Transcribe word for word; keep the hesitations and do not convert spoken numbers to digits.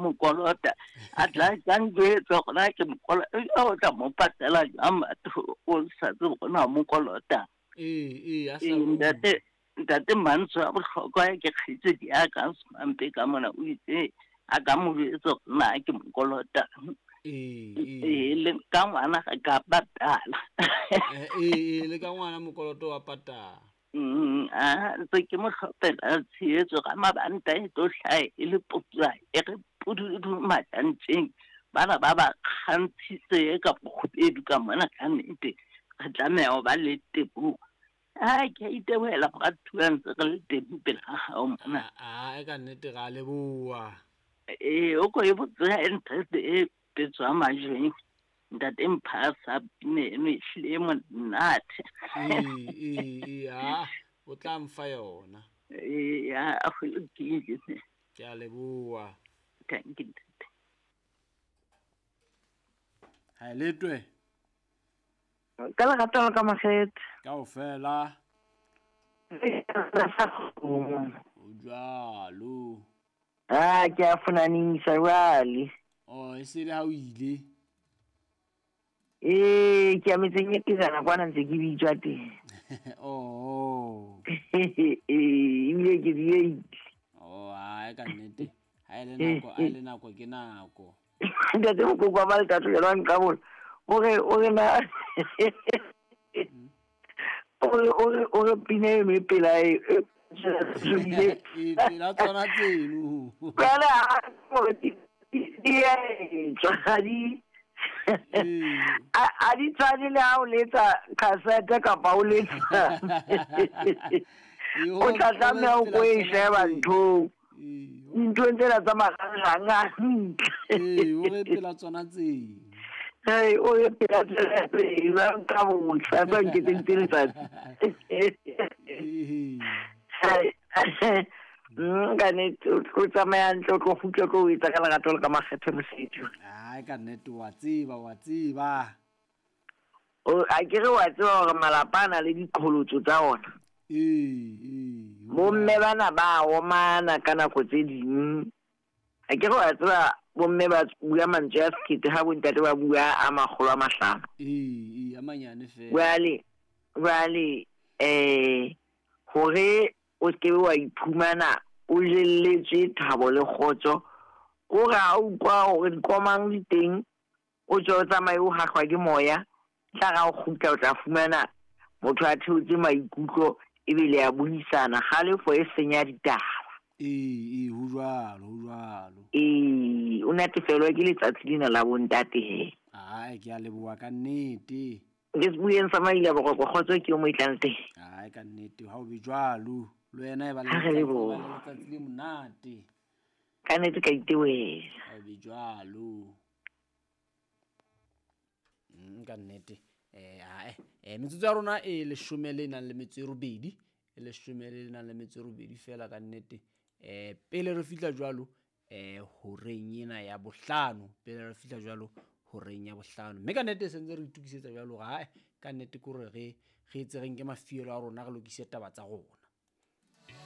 mo kolota a tla ka njwetsa gore na ke mo kolota o tla mo patela jwang batho o sa tsebe gore na mo kolota. Ee ee a sa Ee, ntate ntate Mantswe a bohlokwa ke kgaitsedi ya ka Semampe ka mona o itse a ka mo jwetsa gore na ke mo kolota. Ee Ee, ee le ka ngwana ga ka patala. Eh, ee ee le ka ngwana mokoloto wa patala. Mm, a ntse ke mo hlopela tshehetso ka mabanta e tlo hlaha e le putswa e re pududu majantjeng bana ba ba kgantshitse ka bokgubedu ka mona ka nnete re tlameha ho ba le teboho. A ke a itebohela moratuwa ntse re le teng pela hao mona. A e ka nnete ra leboha. Ee, o ko e botse ha interest e petswa majweng. Ntate Mphasa pina eno e hlile e monate. Ee ee ee a o tla mfa yona. Ee, ya go lokile. Ke a leboha. Thank you, ntate. Ha e letwe Ka lerato la ka makgethe. kaofela o jwalo. Ah, ke a fonanisa jwale. Oh, e se le ha o ile. Ee, ke ya metseng e pejana kwana ntse ke bitswa teng. Oh. Ee, ebile ke diehile. Oh, ha ka nnete. Ha e le nako, ha e le nako ke nako. Ntate Mokoko wa Maletato yena wa nqabola. O re o re na o re o re o re pina eno e pela e e E pela tsona tseno. Jwale ha hore di di a etswa ha di Ee. a a di tshwane le ha o letsa cassette kapa o letsa o tla tlameha o ko e sheba nthong Ee, dinthong tsena tsa marangrang a hantle. ee, o re pela tsona tseno. Hei, o re pela tsena tseo, ba nka botsa, ba nketseditse letsatsi. Ee. Hai, mm, ka nnete, o tlo tsamaya hantle, o tlo kgutla, o tlo o etsa ka lerato le ka makgethe mosebetsi. Ai ka nnete wa tseba, wa tseba. O a ke re wa tseba hore malapa a na le diqholotso tsa ona. Ee, ee. Bomme bana ba omana ka nako tse ding. A ke re wa tseba bomme ba bua mantswe a sekete ha bontate ba bua a makgolo a mahlano. Ee, ee, a manyane fela. Jwale, jwale eh hore o skebe wa iphumana o jelletswe thabo le kgotso, o re ha o utlwa hore dikomang di teng, o tswe o tsamaye o hahlwa ke moya, tla ra o kgutla o tla fumana motho a theotse maikutlo ebile a buisana, kgalefo e senya ditaba. Ee, ee, ho jwalo, ho jwalo. Ee, o natefelwa ke letsatsi lena la bontate he. Ai, ke a leboha ka nnete. Ke sebuyeng sa Maila Boroko, kgotso ke yo mo e tlang teng. Ai, ka nnete, ha o be jwalo. Le wena e ba le Ha re letsatsi, leboha. ba le letsatsi le monate. Ka nnete ka itebohela. Ha o be jwalo. Mm, ka nnete. Eh, ae, eh, metsotso ya rona e leshome le nang le metso e robedi, e leshome le nang le metso e robedi fela ka nnete. Eh, pele re fihla jwalo, eh, horeng ena ya bohlano, pele re fihla jwalo horeng ya bohlano. Mme ka nnete se ntse re itokisetsa jwalo hore ae, ka nnete ke hore re, re etse re nke mafielo a rona re lokise taba tsa rona.